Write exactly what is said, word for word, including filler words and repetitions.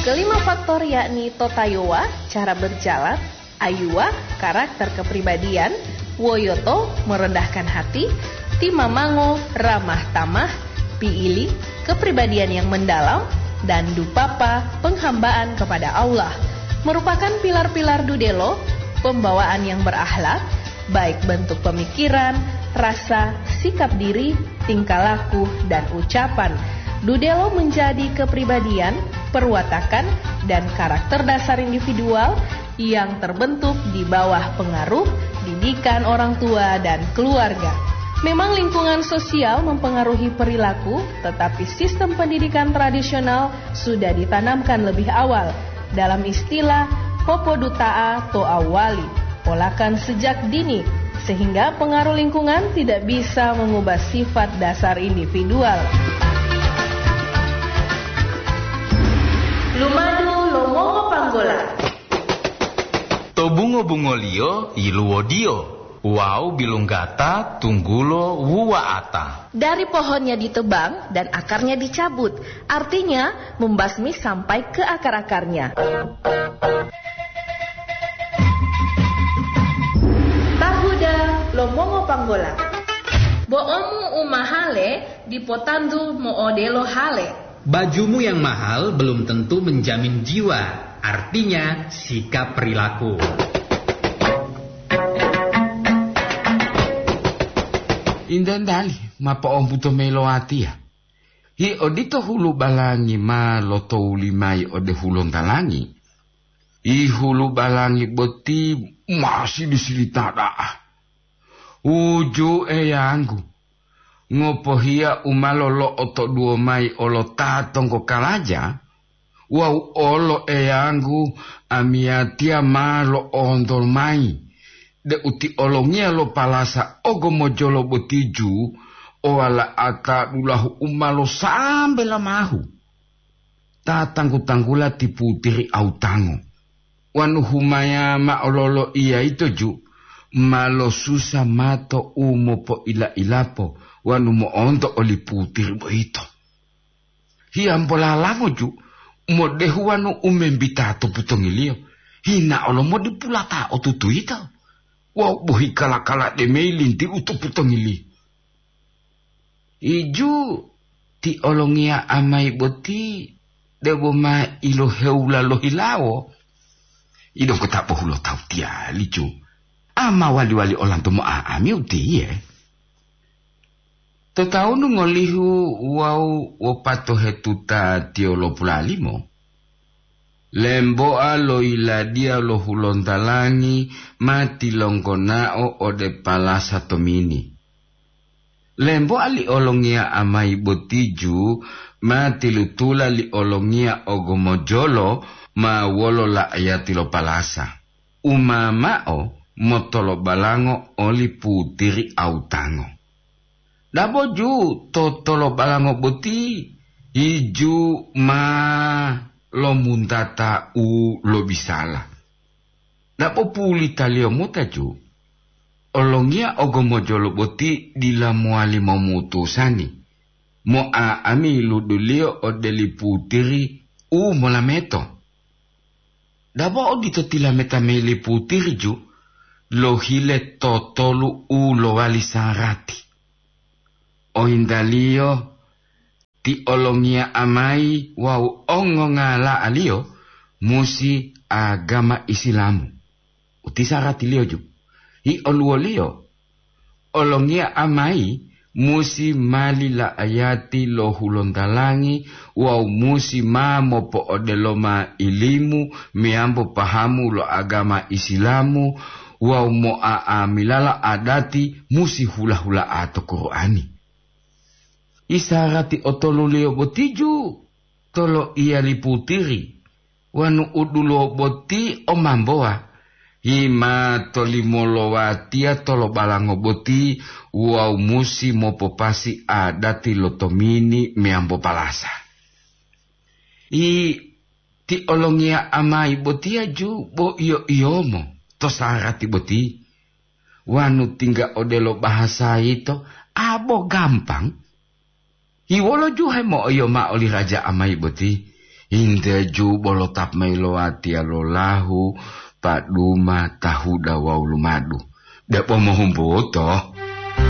Kelima faktor yakni totayowa, cara berjalan, ayuwa, karakter kepribadian, woyoto, merendahkan hati, timamango, ramah tamah, piili, kepribadian yang mendalam, dan dupapa, penghambaan kepada Allah, merupakan pilar-pilar dudelo, pembawaan yang berakhlak, baik bentuk pemikiran, rasa, sikap diri, tingkah laku, dan ucapan. Dudelo menjadi kepribadian, perwatakan, dan karakter dasar individual yang terbentuk di bawah pengaruh didikan orang tua dan keluarga. Memang lingkungan sosial mempengaruhi perilaku, tetapi sistem pendidikan tradisional sudah ditanamkan lebih awal. Dalam istilah, popoduta'a to awali, polakan sejak dini, sehingga pengaruh lingkungan tidak bisa mengubah sifat dasar individual. Lumadu lo mongo panggola. To bungo-bungoliyo yiluwodiyo, wawu bilunggata tunggulo wuwa'ata. Dari pohonnya ditebang dan akarnya dicabut, artinya membasmi sampai ke akar-akarnya. Tahuda lo mongo panggola. Bo'omu u mahale dipotantu mo'odelo hale. Bajumu yang mahal belum tentu menjamin jiwa, artinya sikap perilaku. Inda-indali ma po'ombuto mayi lo watiya. Hi odito hulu balangi ma lotowuli mayi ode hulontalangi. Hi hulu balangi boti ma sili-silita da'a. Uju Eyanggu, ngopohiya u ma lolo'otoduwo mayi olo ta tonggo kalaja, wawu olo Eyanggu amiyatiya ma lo'onto mayi deu ti olongiya lo palasa ogomojolo botiju o wala'ata dulahu u ma losambe lamahu. Ta tanggu-tanggula ti putiri autango. Wonu humaya ma'o loloiya yito ju, ma losusa mato u mopoila-ilapo wonu mo'onto oli putiri boyito. Hiyambola lango ju, modehu wonu u membita to putongiliyo, hina olo modipulata otutu yito, wawu bohi kala-kala demeyi linti u to putongiliyo. Iju ti olongiya amayi boti debo ma ilohewula lohilawo. Idongkota bohulotawu tiyali ju. Ama wali-wali olanto mo'a'ami utiye. To tawunu ngolihu wawu wopatohetuta tiyolopula limo, lembo'a lo yiladiya lo hulontalangi ma tilonggonao ode palasa tomini. Lembo'a li olongiya amayi botiju ma tilutula li olongiya ogomojolo ma wolo la'ayati lo palasa, u ma mao motolobalango oli putiri autango. Dabo ju to tolobalango boti, iju ma lomuntata u lobisala. Dabo pulitaliyo mota ju, olongiya ogomojolo boti dila mowali momutusani mo'a'ami luduliyo ode li putiri u molameto. Dabo odito tilameta mayi li putiri ju, lohile totolu u lowali sarati. Ohintaliyo ti olongiya amayi wawu ongongala'aliyo musi agama Isilamu. Uti saratiliyo ju. Hi oluwoliyo, olongiya amayi musi mali la'ayati lo hulontalangi wawu musi ma mopo'odeloma ilimu meyambo pahamu lo agama Isilamu wawu mo'a'amilala adati musi hula-hula'a to Qur'ani. Isarati otoluliyo botiju toloiya li putiri, wonu udulo boti o mambowa, hima tolimolowatiya tolobalango boti wawu musi mopopasi adati lo tomini meyambo palasa. I ti olongiya amayi botiya ju bo iyo-iyomo to sarati boti. Wanu tingga odelo bahasa yito, abo gampang. Hiwolo juhe mo'oyo ma'o li raja amayi boti, Hinteju bolo tap mayi lo watiya lo lahu, paduma, tahuda wawu lumadu. Depo mohumbuto.